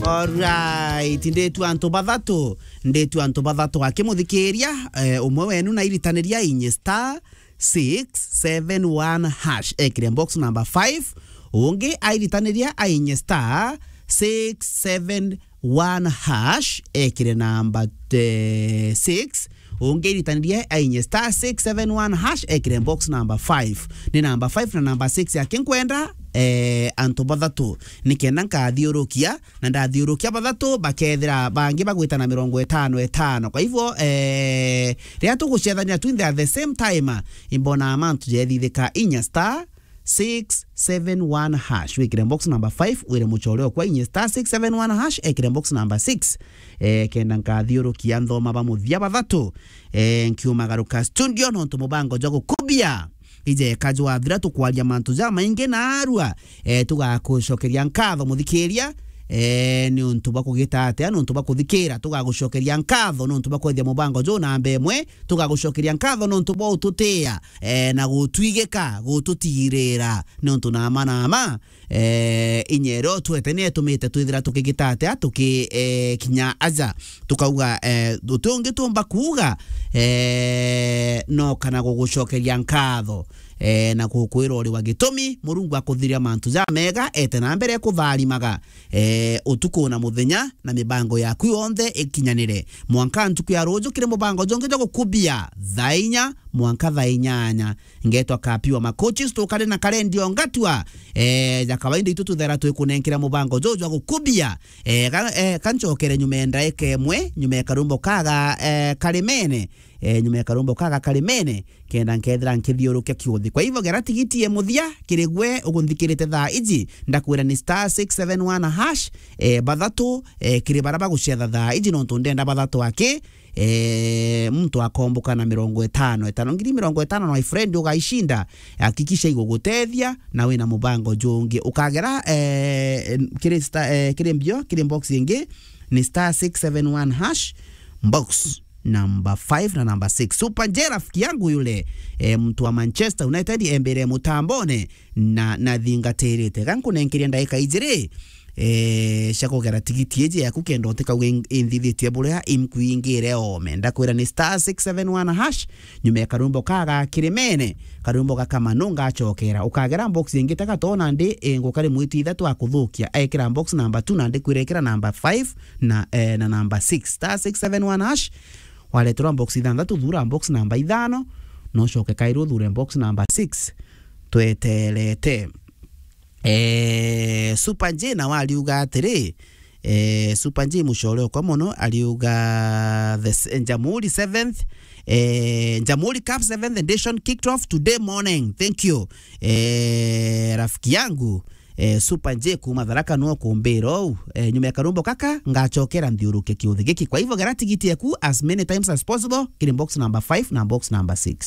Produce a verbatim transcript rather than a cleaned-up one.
Alright, nditu antu bathatu, nditu antu bathatu akimuthikiria, eh, umwe wenu na iritaniria inye star six seven one hash, ekire box number five, ungi airitaniria ainye star six seven one hash, ekire number, eh, six, ungi airitaniria ainye star six seven one hash, ekire box number five. Ni number five na number six akinkwenda, eh, antu bathatu, nikenda nkathiurukia, na ndathiurukia bathatu, bakethira bangi bagwita na mirongo itano itano. Kwa hivyo, eh, riria tugucethania twinthe at the same time, imbona mantu jethithika inya star six seven one hash. Wikire box number five, wire muchore okwa inye star six seven one hash, ekire box number six. Eh, kenda nkathiurukia nthoma ba muthia bathatu. Eh, nkiumagaruka studio nontu mubango jwa gukubia ijeka jwathira, tukwaria mantu jamaingi narua. Eh, tugakucokeria nkatho muthikiria, eh, ni untu bwa kugita atia, ni untu bwa kuthikira. Tugagucokeria nkatho ni untu bwa kwethia mubango juu namba imwe. Tugagucokeria nkatho ni untu bwa ututia, eh, na gutwigika, gututigirira, ni untu nama nama, eh, inya iria utwete ni itumite twithira tukigita atia, tuki, eh, kinya aja. Tukauga, eh, uti ungi tumba kuuga, eh, no kana gugucokeria nkatho, eh, na gukwira uri wa gitumi. Murungu akuthiria mantu jamega, ete na mbere kutharimaga, eh, utuku na muthenya, na mibango yaku yonthe ikinyanire. Mwanka ntuku ya ruju kiri mubango jongi jwa gukubia thaa inya mwanka thaa inyanya. Ngetwa Kapiwa Makochi, tukari na karendio ngatua, eh, ja kawaida itu tuthera twikunenkera mubango juju jwa gukubia. Eh, ga, eh, kanchokere nyuma ya ndaika imwe, nyuma ya karumbo kaga, eh, karimene, eh, nyuma ya karumbo kaga karimene, kenda nkethira nkithiurukia kiuthi. Kwa hivyo, gera tigiti ya muthia kiri gwe ugunthikirite thaa iji, ndakwira ni star six seven one hash, eh, bathatu, eh, kiri bara bagucetha thaa iji, nontu ndenda bathatu aki, eh, muntu akomboka na mirongo itano itano. Ngiri mirongo itano, my friend, ugaishinda, hakikisha igugutethia, na wina mubango jungi. Ukagera, eh, kiri sta-, eh, kiri mbio, kiri box ingi, ni star six seven one hash, box number five na number six. Super J, rafiki yangu yule, eh, mtu wa Manchester United, embere mutambone na, na thingatirite. Gankunenkeria ndaika ijiri, eh, cia kugera tigiti iji yaku kenda utikauge in-, inthithitie buria imkwingire ome. Ndakwira ni star six seven one hash, nyuma ya karumbo kaga kirimene, karumbo gaka manu ngachokera. Ukagera box ingi ta gato nandi, eh, ngukari mwiti ithatu akuthukia. Ekira box number two nandi kwira ekira number five na, eh, na number six. Star six seven one hash, wareterwa box ithanthatu, thura box number ithano, nocoke kairi uthure box number six. Tweterete. Eh, Super J nawe ariuga atiri, eh, Super J mucore okwa mono, ariuga the s-, Jamhuri seventh, eh, Jamhuri Cup seventh edition kicked off today morning. Thank you. Eh, rafiki yangu, eh, Super J kuma Tharaka no kumbira ou. Eh, nyuma ya karumbo kaka, ngachokera nthiuruke kiuthi giki. Kwa hivyo, gera tigiti yaku as many times as possible, kiri box number five na box number six.